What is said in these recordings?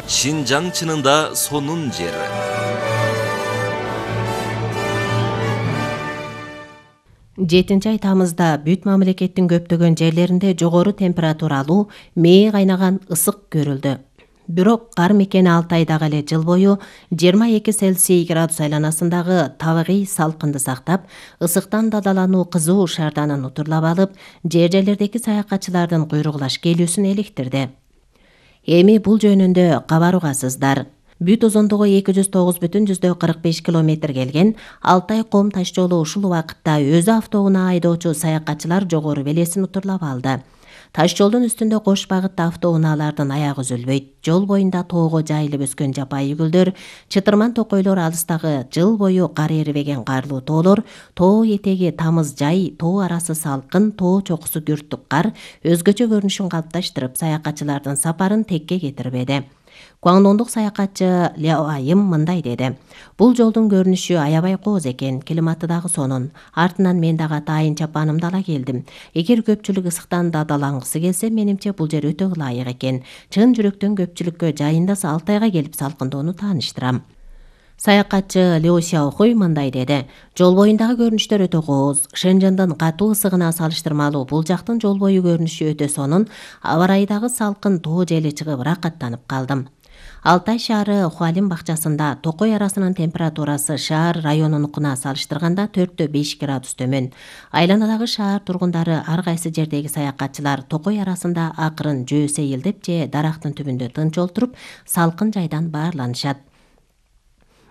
Шинжаң чынында сонун жер. Жетинчи ай тамызда бүт мамлекеттин көптөгөн жерлеринде жогору температуралуу, мээ кайнаган ысык көрүлдү. Бирок кар мекени Алтайдагы эле жыл бою 22 Цельсий градус айланасындагы табигый салкынды сактап, ысыктан дадалануу кызуу шаарданын утурлап алып, жерлердеги саякатчылардын куйругулаш келүүсүн электирди. Эми бул жөнүндө кабар угасыздар. Бүт узундугу 209,45 километр келген Алтай-Ком таш жолу ушул убакытта өзү автоунаа айдоочу саякатчылар жогору белесин утурлап алды. Таш жолдун үстүндө кош багытта автоунаалардын аягы үзүлбөйт. Жол боюнда тоого жайылып өскөн жапайы гүлдөр, чытырман токойлор алыстагы жыл бою кар эрибеген карлуу тоолор, тоо этеги тамыз жай, тоо арасы салкын, тоо чокусу күрттүк кар өзгөчө көрүнүшүн калыпташтырып, саякатчылардын сапарын текке кетирбеди. Гуаңдондук саякатчы Ляо Айым мындай деди: "Бул жолдун көрүнүшү аябай кооз экен, климаты дагы сонун. Артынан мен дагы атайын чапанымды ала келдим. Эгер көпчүлүк ысыктан дадалангысы келсе, менимче бул жер өтө ылайык экен. Чын жүрөктөн көпчүлүккө жайында Алтайга келип салкындоону тааныштырам." Саякатчы Лео Сяохуй мындай деди: "Жол боюндагы көрүнүштөр өтө кооз. Шэнжэндин катуу ысыгына салыштырмалуу бул жактын жол бою көрүнүшү өтө сонун. Аба ырайдагы салкын тоо жели чыгып ырахаттанып калдым." Алтай шаары Хуалин бакчасында токой арасынын температурасы шаар районунукуна салыштырганда 4-5 градус төмөн. Айланадагы шаар тургундары ар кайсы жердеги саякатчылар токой арасында акырын жөө сейилдеп же дарактын түбүндө тынч олтуруп, салкын жайдан баарланышат.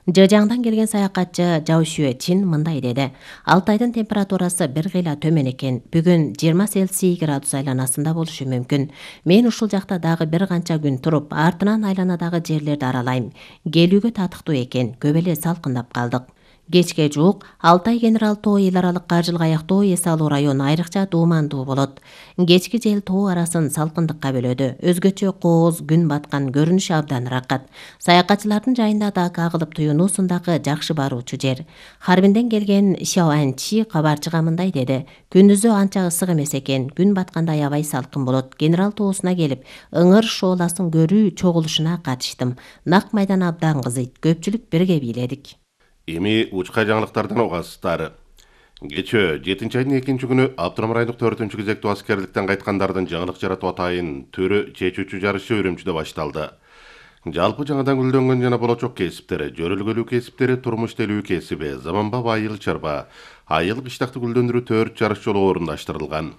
Жыжаңдан келген саякатчы Жао Шуэчин мындай деди: "Алтайдын температурасы бир кыйла төмөн экен. Бүгүн 20 Цельсий градус айланасында болушу мүмкүн. Мен ушул жакта дагы бир канча күн туруп, артынан айланадагы жерлерди аралайм. Келүүгө татыктуу экен. Көп эле салкындап калдык." Кечке жуук Алтай Генерал тоо эл аралык каржылык аяктоо эс алуу району айрыкча дуумандуу болот. Кечки жел тоо арасын салкындыкка бөлөдү. Өзгөчө кооз күн баткан көрүнүш абдан ыракат. Саякатчылардын жайында дака агылып туюнуусундагы жакшы баруучу жер. Харбинден келген Шаоанчи кабарчыга мындай деди: "Күндүзү анча ысык эмес экен. Күн батканда аябай салкын болот. Генерал тоосуна келип, ыңыр шооласын көрүү чогулушуна катыштым. Нак майдан абдан кызыйт. Көпчүлүк бирге бийледик." Эми учка жаңылыктардан угасыздар. Кечээ 7 айдын 2 күнү Абдурахман райондук 4 кезектүү аскерликтен кайткандардын жаңылык жаратуу атайын түрү чечүүчү жарышы Үрүмчүдө башталды. Жалпы жаңадан гүлдөнгөн жана болочок кесиптер, жөрөлгөлүү кесиптери, турмуш делүү кесиби, заманбап айыл чарба, айыл кыштакты гүлдөндүрүү 4 жарыш жолу орундаштырылган.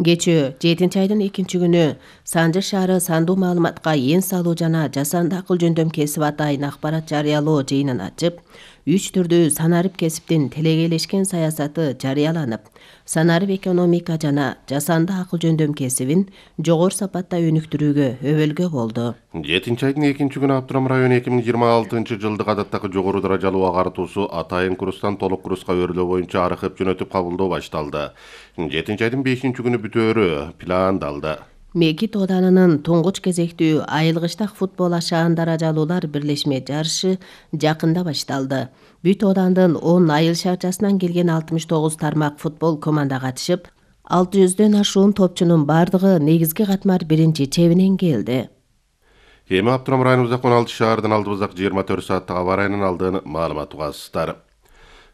Кечээ 7 айдын 2 күнү Санжыр шаары сандуу маалыматка эн салуу жана жасанды акыл жөндөм кесип атайын акбарат жарыялоо жыйынын ачып, 3 түрдүү санарип кесиптин телегейлешкен саясаты жарыяланып, санарип экономика жана жасанды акыл жөндөм кесибин жогору сапатта өнүктүрүүгө өбөлгө болду. 7 айдын 2 күнү Абдурахман району 2026-жылдык адаттагы жогору даражалуу агартуусу атайын курстан толук курска өрлөө боюнча арыхып жөнөтүп кабылдоо башталды. 7 айдын 5 күнү бүтөөрү пландалды. Мекит Оданынын туңгуч кезектүү айылгычтак футбол ашаан даражалуулар бирлешме жарышы жакында башталды. Бүт Одандын 10 айыл шаарчасынан келген 69 тармак футбол команда катышып, 600дөн ашуун топчунун бардыгы негизги катмар биринчи чебинен келди. Эми Абдурахман районубуздагы 16 шаардын алдыбыздагы 24 сааттык аба ырайынын алдын маалымат угасыздар.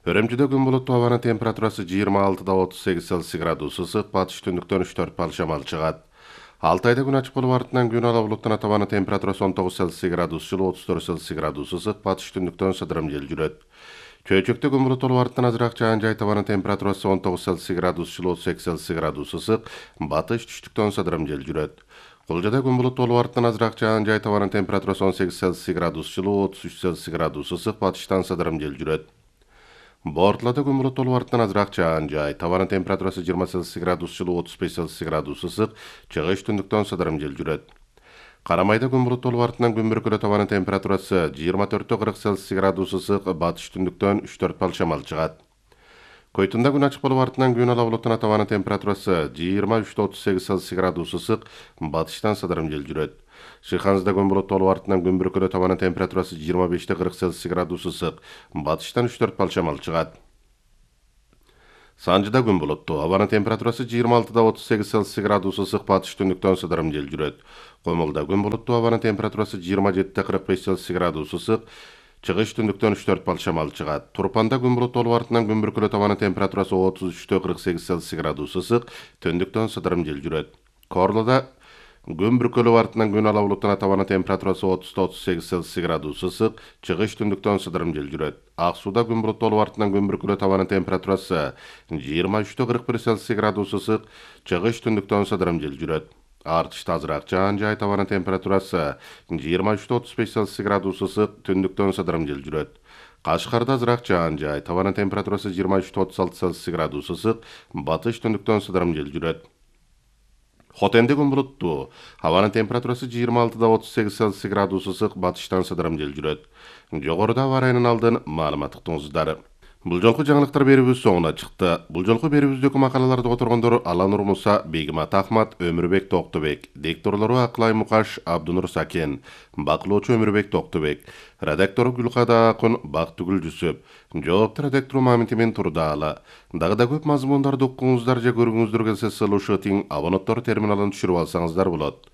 Өрөмчүдө күн булуттуу, абанын температурасы 26-38 Цельсий градус ысык, батыш түндүктөн 3-4 бал шамал чыгат. Алтайда күн ачык болуп, артынан күн ала булуттан табанын температурасы 19 Цельсий градус жылы, 34 Цельсий градус ысык, батыш түндүктөн сыдырым жел жүрөт. Чөйчөктө күн булуттуу болуп, артынан азыраак жаан жай, табанын температурасы 19 Цельсий градус жылы, 38 Цельсий градус ысык, батыш түштүктөн сыдырым жел жүрөт. Кулжада күн булуттуу болуп, артынан азыраак жаан жай, табанын температурасы 18 Цельсий градус жылы, 33 Цельсий градус ысык, батыштан сыдырым жел жүрөт. Бортлада күн булуттуу болуп, артынан азыраак жаан жай, табанын температурасы 20 Цельсий градус жылы, 35 Цельсий градус ысык, чыгыш түндүктөн сыдырым жел жүрөт. Карамайда күн булуттуу болуп, артынан күн бүркүлө, табанын температурасы 24-40 Цельсий градус ысык, батыш түндүктөн 3-4 бал шамал чыгат. Койтунда күн ачык болуп, артынан күн ала булуттан табанын температурасы 23-38 Цельсий градус ысык, батыштан сыдырым жел жүрөт. Шыйханызда күн булуттуу болуп, артынан күн бүркүлө, табанын температурасы 25-40 Цельсий градус ысык, батыштан 3-4 бал шамал чыгат. Санжыда күн булуттуу. Абанын температурасы 26-38 градус ысык, батыш түндүктөн сыдырым жел жүрөт. Комулда күн булуттуу. Абанын температурасы 27-45 градус ысык, чыгыш түндүктөн 3-4 балл шамал чыгат. Турпанда күн булуттуу болуп артынан күн бүркүлөт. Абанын температурасы 33-48 градус ысык, түндүктөн сыдырым жел жүрөт. Корлуда күн бүркүлөп артынан күн ала булуттанат. Абанын температурасы 30-38 градус ысык, чыгыш түндүктөн сыдырым жел жүрөт. Ак сууда күн булуттуу болуп артынан күн бүркүлөт. Абанын температурасы 23-41 градус ысык, чыгыш түндүктөн сыдырым жел жүрөт. Артышта азыраак жаан жайт. Абанын температурасы 23-35 градус ысык, түндүктөн сыдырым жел жүрөт. Кашкарда азыраак жаан жайт. Абанын температурасы 23-36 градус ысык, батыш түндүктөн сыдырым жел жүрөт. Хотенде күн булуттуу. Абанын температурасы 26-38 градус ысык, батыштан сыдырым жел жүрөт. Жогоруда аба ырайынын алдын маалымат уктуңуздар. Бул жолку жаңылыктар берүүбүз соңуна чыкты. Бул жолку берүүбүздөгү макалаларды которгондор Аланур Муса, Бегимат Ахмат, Өмүрбек Токтобек, дикторлору Аклай Мукаш, Абдунур Сакен, бакылоочу Өмүрбек Токтобек, редактору Гүлкада Акын, Бактыгүл Жүсөп, жоопту редактору Мамитимен Турдаала. Дагы да көп мазмундарды уккуңуздар же көргүңүздөр келсе, ссылы ушул абоненттор терминалын түшүрүп алсаңыздар болот.